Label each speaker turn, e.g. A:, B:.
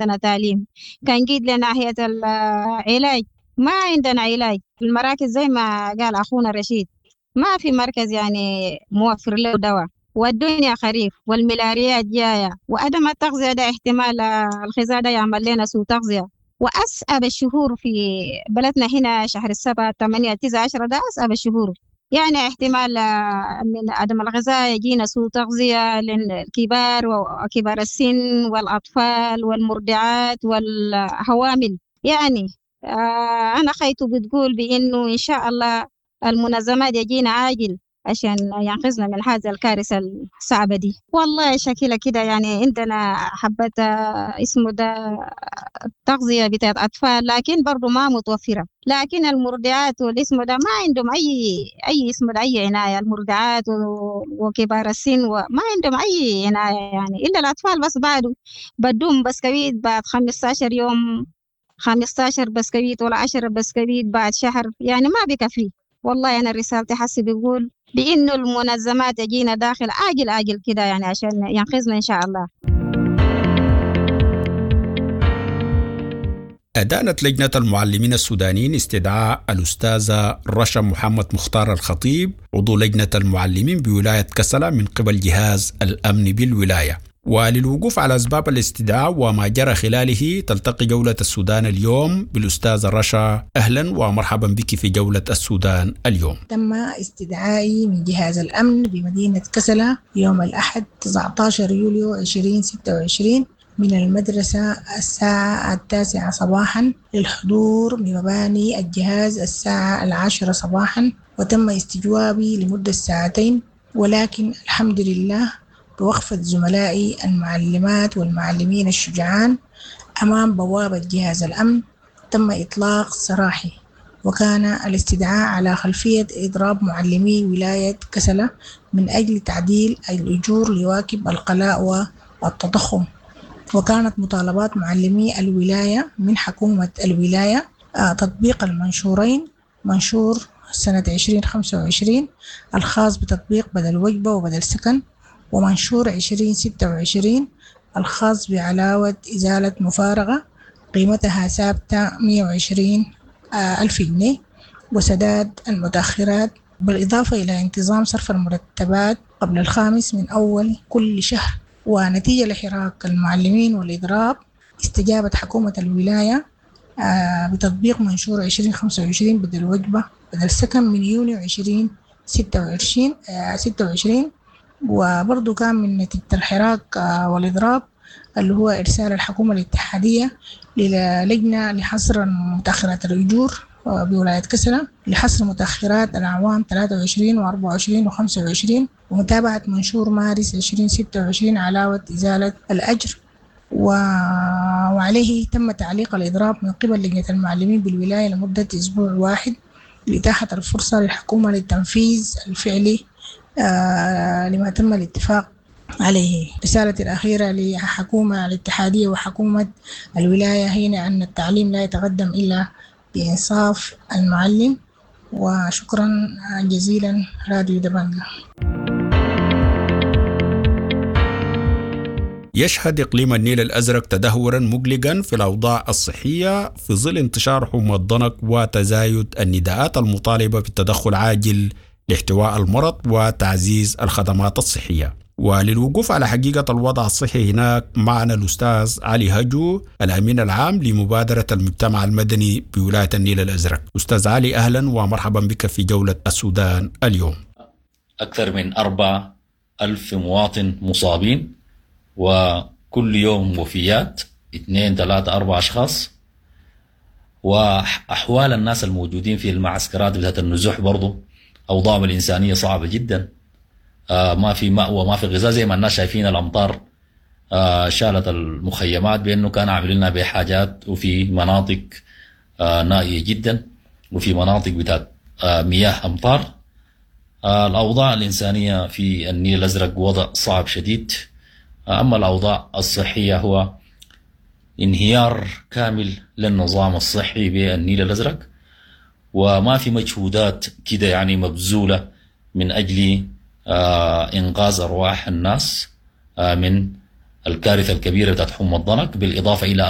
A: عندنا تعليم. كان جيت لناحية العلاج ما عندنا علاج. المراكز زي ما قال أخونا رشيد ما في مركز يعني موفر له دواء، والدنيا خريف والملاريات جاية، وعدم التغذية ده احتمال الغذاء ده يعمل لنا سوء تغذية. وأصعب الشهور في بلدنا هنا شهر 7 8 9 10 ده أصعب الشهور، يعني احتمال من عدم الغذاء يجينا سوء تغذية للكبار وكبار السن والأطفال والمرضعات والحوامل. يعني أنا خيته بتقول بإنه إن شاء الله المنظمات يجينا عاجل عشان ينقذنا من هذا الكارثة الصعبة دي. والله شكلها كده يعني عندنا حبة اسمه ده تغذية بتاعت أطفال، لكن برضو ما متوفرة. لكن المرضعات والاسم ده ما عندهم أي اسم ده أي عناية. المرضعات وكبار السن وما عندهم أي عناية يعني، إلا الأطفال بس بعده بدوم بسكويت بعد 15 يوم، 15 بسكويت ولا 10 بسكويت بعد شهر، يعني ما بيكفي. والله أنا رسالتي حسي بيقول بإنه المنظمات تجينا داخل عاجل عاجل كده يعني عشان ينقذنا إن شاء الله.
B: أدانت لجنة المعلمين السودانيين استدعاء الأستاذة رشا محمد مختار الخطيب عضو لجنة المعلمين بولاية كسلا من قبل جهاز الأمن بالولاية. وللوقوف على أسباب الاستدعاء وما جرى خلاله تلتقي جولة السودان اليوم بالأستاذة رشا. أهلا ومرحبا بك في جولة السودان اليوم.
C: تم استدعائي من جهاز الأمن بمدينة كسلا يوم الأحد 19 يوليو 2026 من المدرسة الساعة 9 صباحا للحضور بمباني الجهاز الساعة 10 صباحا، وتم استجوابي لمدة ساعتين، ولكن الحمد لله بوقفة زملائي المعلمات والمعلمين الشجعان أمام بوابة جهاز الأمن تم إطلاق سراحي. وكان الاستدعاء على خلفية إضراب معلمي ولاية كسلة من أجل تعديل الأجور ليواكب الغلاء والتضخم. وكانت مطالبات معلمي الولاية من حكومة الولاية تطبيق المنشورين، منشور سنة 2025 الخاص بتطبيق بدل وجبة وبدل سكن، ومنشور 2026 الخاص بعلاوة إزالة مفارقة قيمتها ثابتة 120 ألف جنيه وسداد المتأخرات، بالإضافة إلى انتظام صرف المرتبات قبل 5 من أول كل شهر. ونتيجة لحراك المعلمين والإضراب استجابت حكومة الولاية بتطبيق منشور 2025 بدل وجبة بدل سكن من يونيو 2026. وبرضو كان من نتيجة الحراك والإضراب اللي هو إرسال الحكومة الاتحادية للجنة لحصر متأخرات الأجور بولاية كسلا لحصر متأخرات الأعوام 23 و24 و25، ومتابعة منشور مارس 2026 علاوة إزالة الأجر. وعليه تم تعليق الإضراب من قبل لجنة المعلمين بالولاية لمدة أسبوع واحد لإتاحة الفرصة للحكومة للتنفيذ الفعلي لما تم الاتفاق عليه. رسالتي الأخيرة لحكومة الاتحادية وحكومة الولاية هنا أن التعليم لا يتقدم إلا بإنصاف المعلم. وشكرا جزيلا راديو دبنجة.
B: يشهد إقليم النيل الأزرق تدهورا مقلقا في الأوضاع الصحية في ظل انتشار حمى الضنك وتزايد النداءات المطالبة بالتدخل عاجل لاحتواء المرض وتعزيز الخدمات الصحية. وللوقوف على حقيقة الوضع الصحي هناك معنا الأستاذ علي هجو الأمين العام لمبادرة المجتمع المدني بولاية النيل الأزرق. أستاذ علي أهلا ومرحبا بك في جولة السودان اليوم.
D: أكثر من 4000 مواطن مصابين، وكل يوم وفيات 2 3 4 أشخاص، وأحوال الناس الموجودين في المعسكرات بتاعت النزوح برضو أوضاعهم الإنسانية صعبة جدا. ما في مأوى، ما في غذاء، زي ما الناس شايفين الأمطار شالت المخيمات بأنه كان عاملين بحاجات، وفي مناطق نائية جدا، وفي مناطق بتاعت مياه أمطار. الأوضاع الإنسانية في النيل الأزرق وضع صعب شديد. أما الأوضاع الصحية هو انهيار كامل للنظام الصحي بالنيل الأزرق، وما في مجهودات كده يعني مبذولة من أجل إنقاذ أرواح الناس من الكارثة الكبيرة بتاعت حمى الضنك، بالإضافة إلى